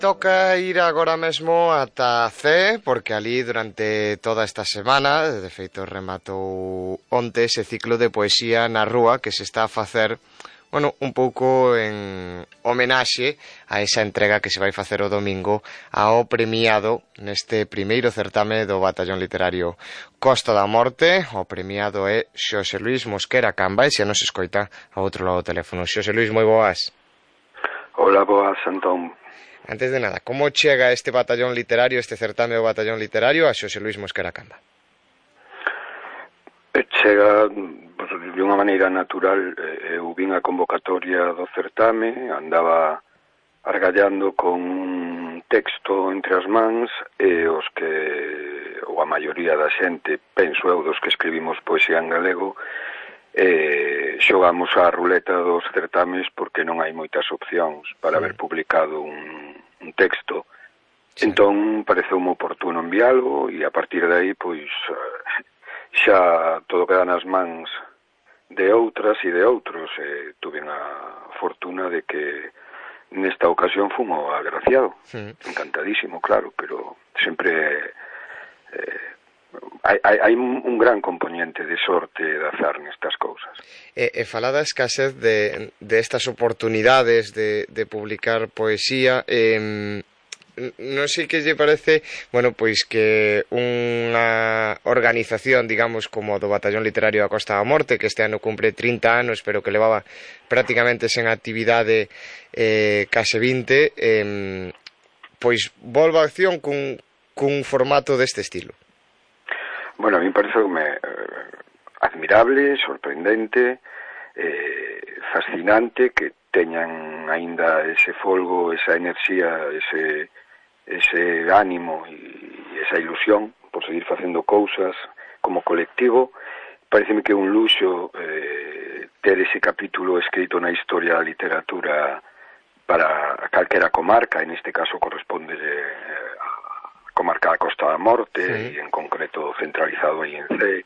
Toca ir agora mesmo ata C, porque ali durante toda esta semana, de feito rematou onte ese ciclo de poesía na rúa que se está a facer, bueno, un pouco en homenaxe a esa entrega que se vai facer o domingo ao premiado neste primeiro certame do Batallón Literario Costa da Morte. O premiado é Xosé Luís Mosquera Camba, e se nos escoita ao outro lado do teléfono. Xosé Luís, moi boas. Hola, boas, Antón. Antes de nada, como chega este batallón literario, este certame do batallón literario a Xosé Luís Mosquera Camba? Chega de unha maneira natural. Eu vin a convocatoria do certame, andaba argallando con un texto entre as mans e os que, ou a maioría da xente, penso eu, dos que escribimos poesía en galego, xogamos a ruleta dos certames porque non hai moitas opcións para haber publicado un texto. Sí. Entón pareceume oportuno envialo e a partir de aí pois xa todo queda nas mans de outras e de outros. Tuve a fortuna de que nesta ocasión fun o agraciado. Encantadísimo, claro, pero sempre hai un gran componente de sorte de azar nestas cousas. E falada a escasez de estas oportunidades de publicar poesía, non sei que lle parece, bueno, pois que unha organización, digamos, como do Batallón Literario da Costa da Morte, que este ano cumpre 30 anos, pero que levaba prácticamente sen actividade case 20, pois volva a acción cun formato deste estilo. Bueno, a mí pareceume admirable, sorprendente, fascinante que teñan aínda ese folgo, esa enerxía, ese ánimo e esa ilusión por seguir facendo cousas como colectivo. Pareceme que é un luxo ter ese capítulo escrito na historia da literatura para calquera comarca, en este caso corresponde a comarca da Costa da Morte, sí. E en concreto centralizado aí en C.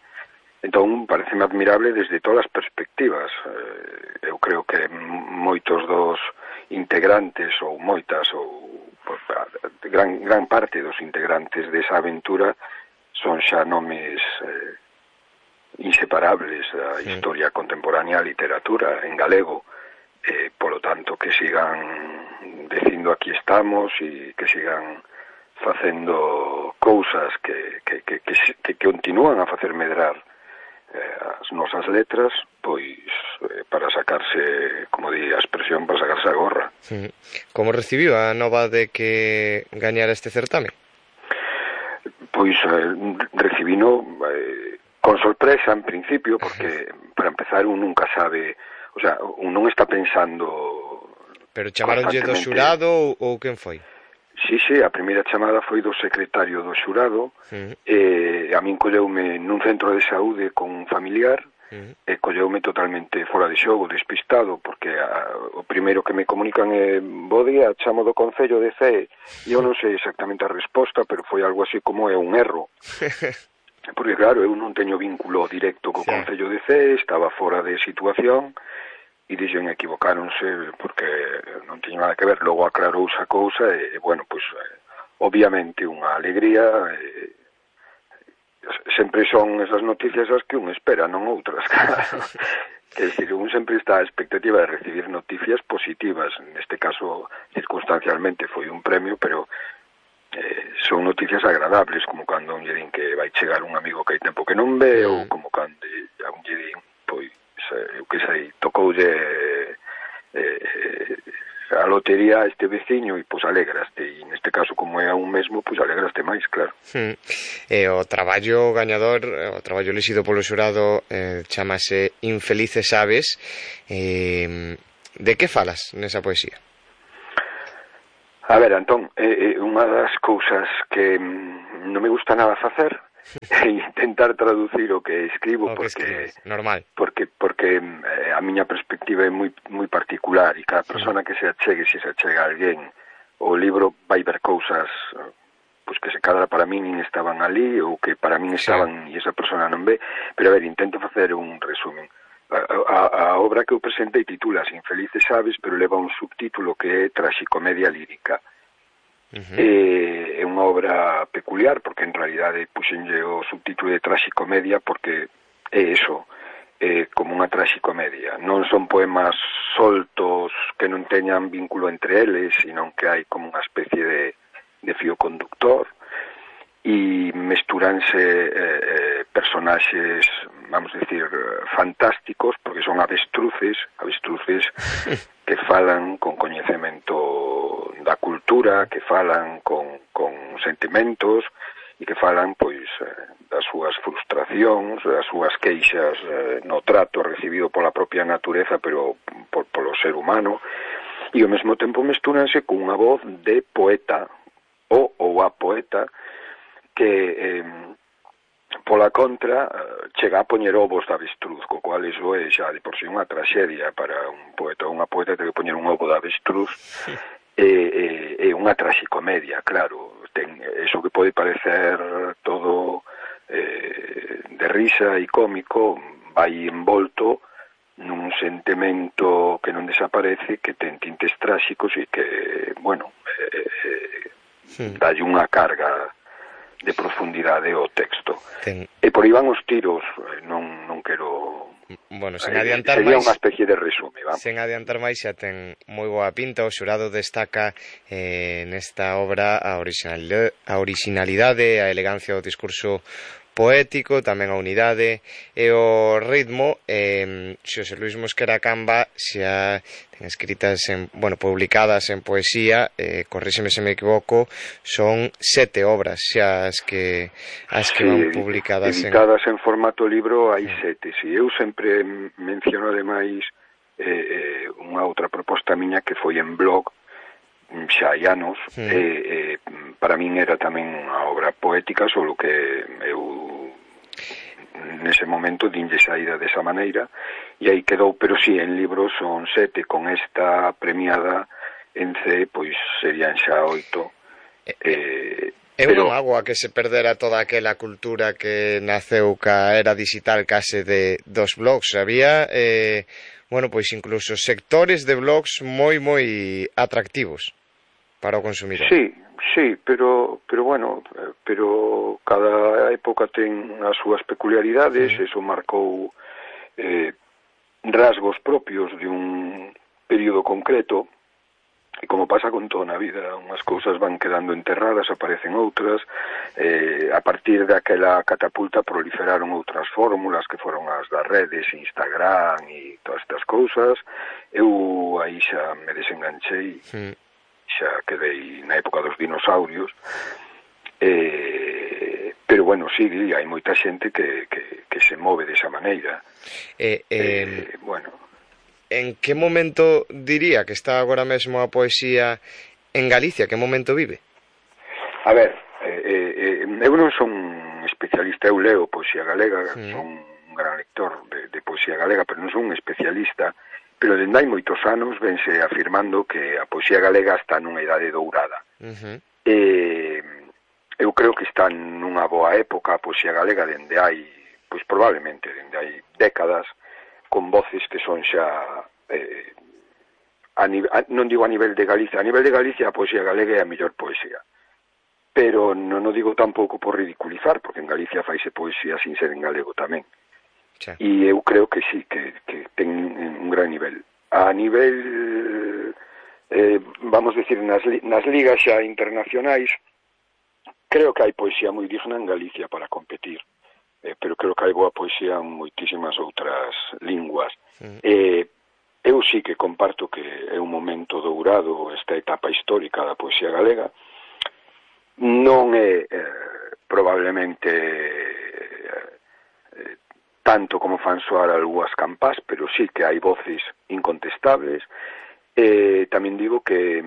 Entón, pareceme admirable desde todas as perspectivas. Eu creo que moitos dos integrantes, ou moitas, ou gran parte dos integrantes desa aventura son xa nomes inseparables da historia contemporánea da literatura en galego. Polo tanto, que sigan dicindo aquí estamos e que sigan facendo cousas que continúan a facer medrar as nosas letras, pois para sacarse, como di a expresión, para sacarse a gorra. Como recibiu a nova de que gañara este certame? Pois recibino con sorpresa en principio, porque para empezar un nunca sabe, o sea, un non está pensando. Pero chamaronlle do xurado ou quen foi? Sí, a primeira chamada foi do secretario do xurado, e a min colleume nun centro de saúde con un familiar, e colleume totalmente fora de xogo, despistado, porque o primeiro que me comunican é: bo día, chamo do Concello de Cee, e eu non sei exactamente a resposta, pero foi algo así como é un erro. Porque claro, eu non teño vínculo directo co Concello de Cee, estaba fora de situación, e dixen equivocáronse porque non tiña nada que ver. Logo aclarouse a cousa e bueno, pois obviamente unha alegría. Sempre son esas noticias as que un espera, non outras, claro. Quer dizer, un sempre está a expectativa de recibir noticias positivas. Neste caso, circunstancialmente foi un premio, pero son noticias agradables, como cando un lle din que vai chegar un amigo que hai tempo que non ve, ou como cando a un lle din, pois eu que sei, tocoulle a lotería a este veciño e pois alegraste, e neste caso como é a un mesmo, pois alegraste máis, claro. E o traballo gañador, o traballo elixido polo xurado, chamase Infelices Aves. De que falas nesa poesía? A ver, Antón, unha das cousas que non me gusta nada facer é intentar traducir o que escribo, porque normal. Porque a miña perspectiva é moi particular, e cada persona que se achegue, se achega a alguén, o libro vai ver cousas pois que se cadra para min nin estaban ali, ou que para min estaban e esa persona non ve. Pero a ver, intento facer un resumen. A obra que eu presentei titula Infelices Aves, pero leva un subtítulo que é Traxicomedia lírica. É unha obra peculiar porque en realidade puxenlle o subtítulo de traxicomedia porque é eso, é como unha traxicomedia. Non son poemas soltos que non teñan vínculo entre eles, sino que hai como unha especie de fío conductor e mesturanse personaxes, vamos decir, fantásticos, porque son avestruces que falan con coñecemento da cultura, que falan con sentimentos e que falan, pois, das súas frustracións, das súas queixas no trato recibido pola propia natureza, pero polo ser humano, e ao mesmo tempo mestúranse cunha voz de poeta, ou a poeta, que pola contra chega a poñer ovos de avestruz, co cual iso é xa de por si unha traxedia para un poeta ou unha poeta ter que poñer un ovo de avestruz. É unha traxicomedia, claro, ten eso que pode parecer todo de risa e cómico, vai envolto nun sentimento que non desaparece, que ten tintes tráxicos e que, bueno, dalle unha carga de profundidade ao texto. E por aí van os tiros, non quero... Bueno, sen adiantar sería máis, unha especie de resume, vamos. Sen adiantar máis, xa ten moi boa pinta. O xurado destaca nesta obra a originalidade, a elegancia do discurso poético, tamén a unidade e o ritmo. Xosé Luis Mosquera Camba xa ten escritas publicadas en poesía, corríxeme se me equivoco, son 7 obras xa as que van publicadas editadas en formato libro, hai 7. Si eu sempre menciono ademais unha outra proposta miña que foi en blog xa hai anos, para min era tamén unha obra poética, solo que eu nese momento dinlle saída desa maneira e aí quedou, pero si, en libros son 7, con esta premiada en C, pois serían xa 8. Eu non hago a que se perdera toda aquela cultura que naceu ca era digital case dos blogs. Había pois incluso sectores de blogs moi atractivos para o consumidor. Sí, pero cada época ten as súas peculiaridades, eso marcou rasgos propios de un período concreto, e como pasa con toda na vida, unhas cousas van quedando enterradas, aparecen outras, a partir daquela catapulta proliferaron outras fórmulas que foron as das redes, Instagram e todas estas cousas. Eu aí xa me desenganchei, xa quedei na época dos dinosaurios, pero bueno, sí, hai moita xente que se move desa maneira. En que momento diría que está agora mesmo a poesía en Galicia? Que momento vive? A ver, eu non son especialista, eu leo poesía galega, son un gran lector de poesía galega, pero non son un especialista, pero dende hai moitos anos vense afirmando que a poesía galega está nunha idade dourada. Eu creo que está nunha boa época a poesía galega dende hai, pois probablemente dende hai décadas, con voces que son xa non digo a nivel de Galicia, a nivel de Galicia a poesía galega é a mellor poesía, pero non o digo tampouco por ridiculizar, porque en Galicia faise poesía sin ser en galego tamén. E eu creo que sí, que ten un gran nivel. A nivel, vamos decir, nas ligas xa internacionais, creo que hai poesía moi digna en Galicia para competir, pero creo que hai boa poesía en moitísimas outras linguas. Eu sí que comparto que é un momento dourado esta etapa histórica da poesía galega. Non é probablemente tanto como fan soar algunhas campás, pero sí que hai voces incontestables. Tamén digo que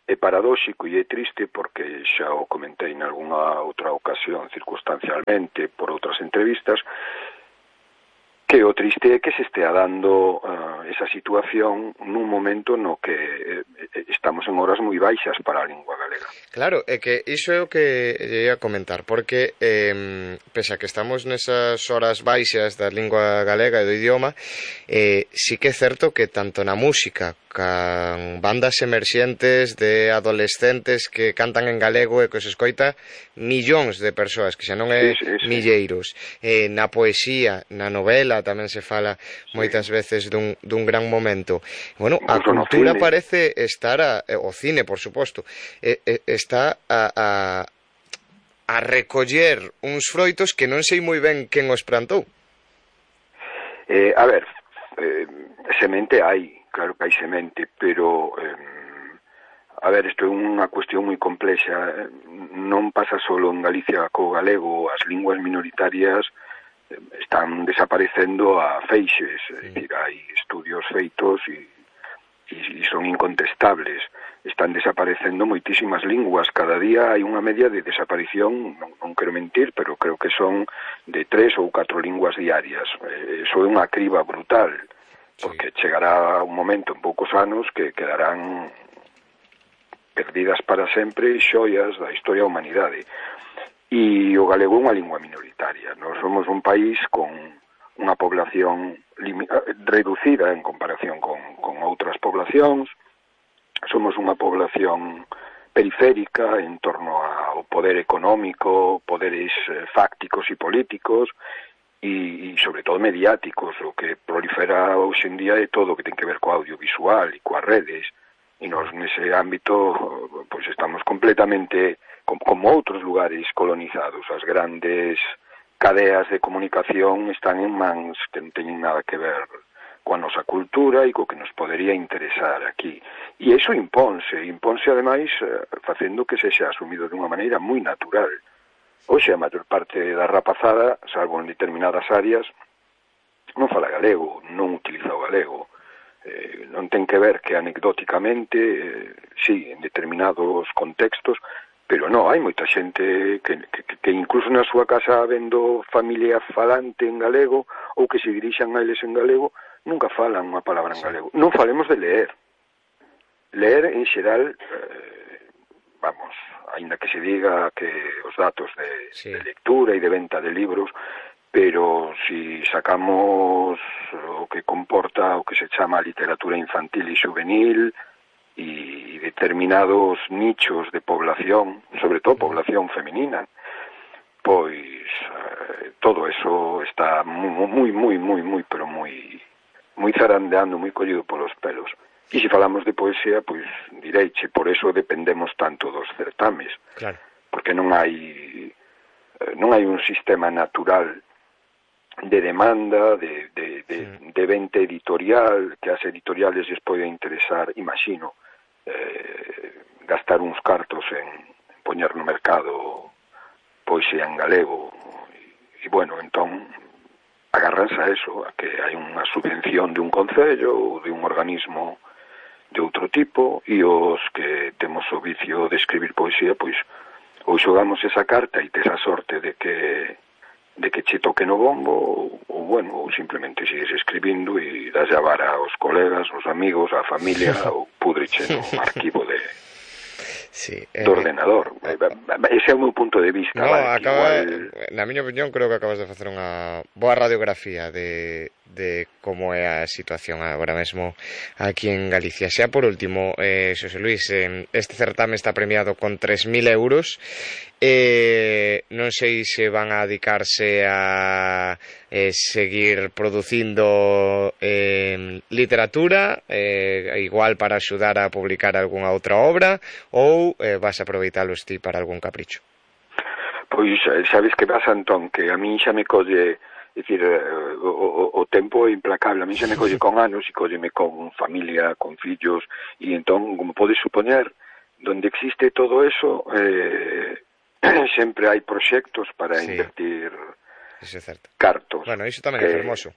é paradóxico e é triste, porque xa o comentei en algunha outra ocasión circunstancialmente por outras entrevistas, que o triste é que se estea dando esa situación nun momento no que estamos en horas moi baixas para a lingua galega. Claro, é que iso é o que ia comentar, porque pese a que estamos nesas horas baixas da lingua galega e do idioma, sí que é certo que tanto na música can bandas emerxentes de adolescentes que cantan en galego e que os escoita millóns de persoas, que xa non é milleiros. Na poesía, na novela tamén se fala moitas veces dun gran momento. Bueno, a cultura parece estar o cine, por suposto, está a recoller uns froitos que non sei moi ben quen os plantou. A ver, semente hai, claro que hai semente, pero a ver, isto é unha cuestión moi complexa. Non pasa solo en Galicia co galego, as linguas minoritarias están desaparecendo a feixes, é dicir, hai estudios feitos e son incontestables. Están desaparecendo moitísimas linguas, cada día hai unha media de desaparición, non quero mentir, pero creo que son de 3 ou 4 linguas diarias. Iso é unha criba brutal, porque chegará un momento en poucos anos que quedarán perdidas para sempre xoias da historia da humanidade. E o galego é unha lingua minoritaria. Nós somos un país con unha población reducida en comparación con outras poblacións. Somos unha población periférica en torno ao poder económico, poderes fácticos e políticos, e sobre todo mediáticos. O que prolifera hoxe en día é todo o que ten que ver co audiovisual e coas redes, e nós nese ámbito pois estamos completamente como outros lugares colonizados. As grandes cadeas de comunicación están en mans que non teñen nada que ver coa nosa cultura e co que nos podería interesar aquí. E iso imponse ademais facendo que sexa asumido dunha maneira moi natural. Hoxe a maior parte da rapazada, salvo en determinadas áreas, non fala galego, non utiliza o galego. Non ten que ver que anecdóticamente, sí, en determinados contextos, pero non, hai moita xente que incluso na súa casa vendo familia falante en galego ou que se dirixan a eles en galego, nunca falan unha palabra en galego. Non falemos de leer. Leer en xeral, vamos, aínda que se diga que os datos de lectura e de venta de libros, pero si sacamos o que comporta o que se chama literatura infantil e juvenil e determinados nichos de población, sobre todo población feminina, pois todo eso está moi, pero moi zarandeando, moi collido polos pelos. E se falamos de poesía, pois direiche, por eso dependemos tanto dos certames, claro, porque non hai un sistema natural de demanda, de venta editorial, que as editoriales les pode interesar, imagino, gastar uns cartos en poñer no mercado poesía en galego, e bueno, entón agarranse a eso, a que hai unha subvención de un concello ou de un organismo de outro tipo, e os que temos o vicio de escribir poesía, pois ou xogamos esa carta e tes a sorte de que che toque no bombo, ou bueno, ou simplemente sigues escribindo e das a vara aos colegas, aos amigos, á familia, ou pudriche no arquivo do ordenador. Ese é o meu punto de vista. No, na miña opinión, creo que acabas de facer unha boa radiografía de como é a situación agora mesmo aquí en Galicia. Xa por último, Xosé Luis, este certame está premiado con 3.000 euros. Non sei se van a dedicarse a seguir producindo literatura, igual para axudar a publicar algunha outra obra, ou vas a aproveitalos ti para algún capricho? Pois sabes que pasa, Antón, que a min xa me colle, é dicir, o tempo é implacable, a min xa me colle con anos e colleme con familia, con fillos, e entón, como podes supoñer, donde existe todo eso, sempre hai proxectos para invertir cartos. Bueno, iso tamén é fermoso.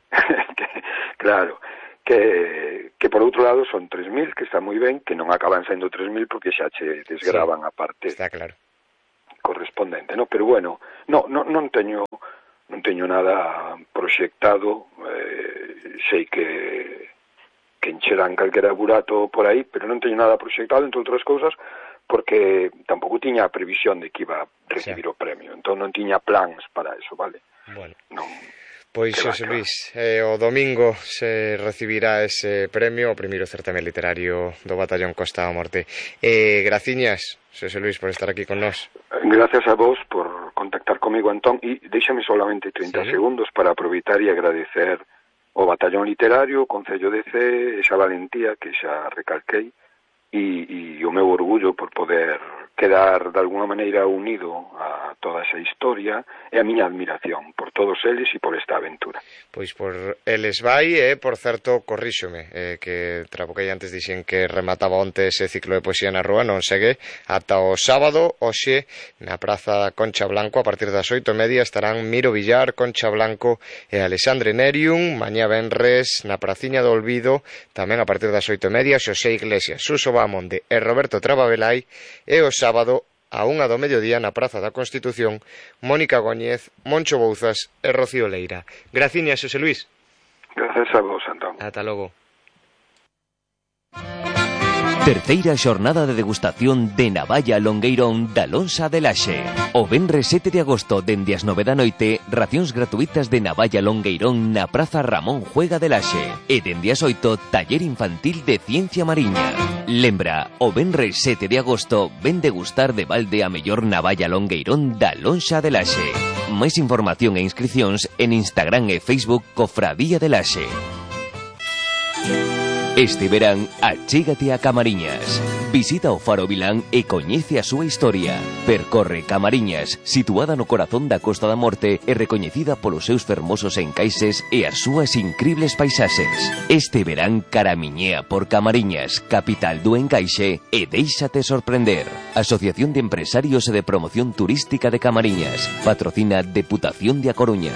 Claro, que por outro lado son 3.000, que está moi ben, que non acaban sendo 3.000 porque xa che desgravan a parte está claro correspondente, ¿no? Pero bueno, non teño nada proxectado, sei que encherán calquera burato por aí, pero non teño nada proxectado, entre outras cousas, porque tampouco tiña a previsión de que iba a recibir o premio, entón non tiña plans para eso, vale? Bueno. Non. Pois, Xosé Luis, o domingo se recibirá ese premio, o primeiro certame literario do Batallón Costa da Morte. Graciñas, Xosé Luis, por estar aquí con nós. Gracias a vos por contactar comigo, Antón, e déxame solamente 30 segundos para aproveitar e agradecer o Batallón Literario, o Concello de Cee, esa valentía que xa recalquei, e o meu orgullo por poder quedar de alguna maneira unido a toda esa historia e a miña admiración por todos eles e por esta aventura. Pois por eles vai, por certo, corríxome, que traboquei antes dixen que remataba onte ese ciclo de poesía na rúa, non segue ata o sábado, hoxe, na Praza Concha Blanco, a partir das 8:30 estarán Miro Villar, Concha Blanco e Alexandre Nerium, mañá venres na Praciña do Olvido, tamén a partir das 8:30, Xosé Iglesias, Suso Bamonde e Roberto Trababelai, e o sábado a 1 do mediodía na Praza da Constitución, Mónica Góñez, Moncho Bouzas e Rocío Leira. Graciñas, Xosé Luis. Gracias a vos, Antón. Ata logo. Terceira xornada de degustación de Navalla Longueirón da Lonxa de Laxe. O venres 7 de agosto dende as 9 da noite, racións gratuitas de Navalla Longueirón na Praza Ramón Juega de Laxe. E dende as 8, taller infantil de ciencia mariña. Lembra, o venres 7 de agosto ven degustar de balde a mellor Navalla Longueirón da Lonxa de Laxe. Máis información e inscricións en Instagram e Facebook Cofradía de Laxe. Este verán, achégate a Camariñas. Visita o Faro Vilán e coñece a súa historia. Percorre Camariñas, situada no corazón da Costa da Morte e recoñecida polos seus fermosos encaixes e as súas incribles paisaxes. Este verán caramiñea por Camariñas, capital do encaixe, e déixate sorprender. Asociación de Empresarios e de Promoción Turística de Camariñas. Patrocina Deputación de A Coruña.